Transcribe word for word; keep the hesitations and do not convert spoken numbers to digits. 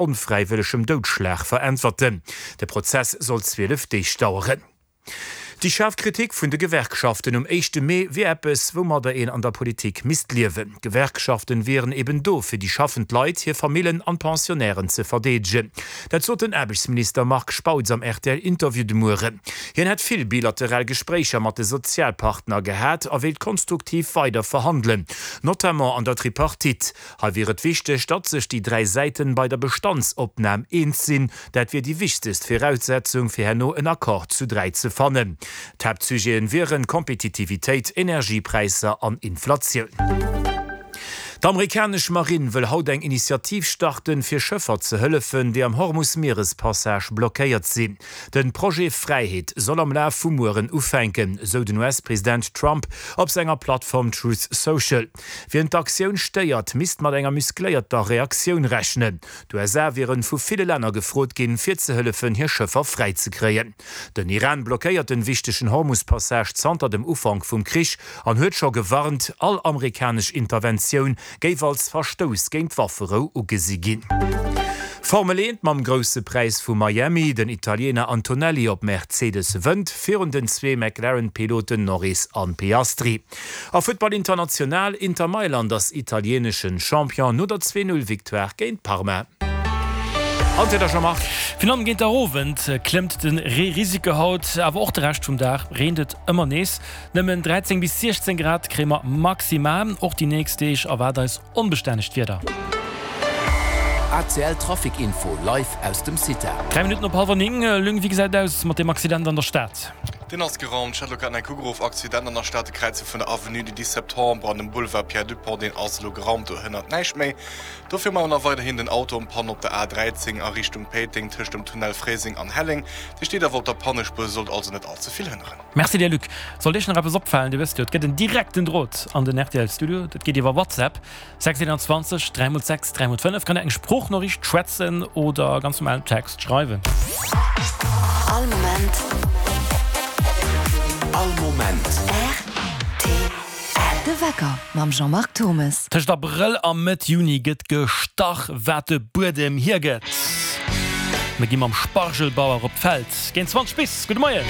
onfräiwëllegem Doudschlag veräntwerten. De Prozess soll zwielef Deeg daueren. Déi schaarf Kritik vun de Gewerkschaften um éischte Mee wier eppes, woumadder een an der Politik misst liewen. D'Gewerkschaften wieren eben do, fir déi schaffend Leit, hir Famillen an d'Pensionnairen ze verdeedegen. Dat sot den Aarbechtsminister Marc Spautz am RTL-Interview de Mueren. Hien hätt vill bilateral Gespréicher mat de Sozialpartner gehat a wéilt konstruktiv weider verhandelen, notamment an der Tripartite. Hei wier et wichteg, datt sech déi dräi Säiten bei der Bestandsopnam eens sinn. Dat wier déi wichtegst Viraussetzung, fir herno en Accord zu dräi ze fannen. D'Haaptsujeten wieren Kompetitivitéit, Energiepräisser an Inflatioun. D'amerikanesch Marinn wëll haut eng Initiativ starten, fir Schëffer ze hëllefen, déi am Hormus-Mierespassage blockéiert sinn. Den Projet Fräiheet soll am Laf vum Mueren ufänken, sou den U S-President Trump op senger Plattform Truth Social. Wien d'Aktioun stéiert, misst mat enger muskléierter Reaktioun rechnen. D'U S A wieren vu ville Länner gefrot ginn, fir ze hëllefen, hir Schëffer fräi ze kréien. Den Iran blockéiert den wichtegen Hormus-Passage zanter dem Ufank vum Krich an huet scho gewarnt, all amerikanesch Interventioun géif als Verstouss géint d'Wafferou ugesi ginn. Formel eent mam Grousse Präis vu Miami, Den Italiener Antonelli op Mercedes wënnt virun den zwee McLaren-Piloten Norris an Piastri. A Futtball international, Inter Mailand ass italieneschen Champion no der zwee-Null-Victoire géint Parma. An d'Wieder, Jean-Marc. Virun allem géint der Owend klëmmt de Reerisiko haut, awer och de Rescht vum Dag reent et ëmmer nees. Nëmmen dräizéng bis siechzéng Grad kréie mer maximal. Och déi nächst Deeg erwaart eis onbestännegt Wieder. A C L Trafic Info live aus dem CITA. Dräi Minutten op hallwer néng. Luc, wéi gesäit et aus mat deem Accident an der Stad? Deen ass geraumt. Ech hat elo grad nach eng ugeruff. Accident an der Stad, de Kräize vun der Avenue du dix septembre an dem Boulevard Pierre Dupong, deen ass elo geraumt, do hënnert näischt méi. Dofir hu mer nach weiderhin den Auto en panne op der A dräizéng a Richtung Péiteng tëscht dem Tunnel Fréiseng an Helleng. Dee steet awer op der Pannespuer, sollt also net all ze vill hënneren. Merci dir Luc. Sollt Iech nach eppes opfalen, Dir wësst jo, et gëtt en direkten Drot an den R T L Studio. Dat geet iwwer WhatsApp, sechs einundzwanzeg dräi mol sechs dräi mol fënnef. Kann Dir eng Sproochnoriicht schwätzen oder ganz normalen Text schreiwen. All Moment. All Moment. R T L. De Wecker mam Jean-Marc Turmes. Tëscht Abrëll a Mëtt Juni gëtt gestach, wat de Buedem hiergëtt. Mir gi mam Spargelbauer op d'Feld. Géint zwanzeg bis. Gudde Moien.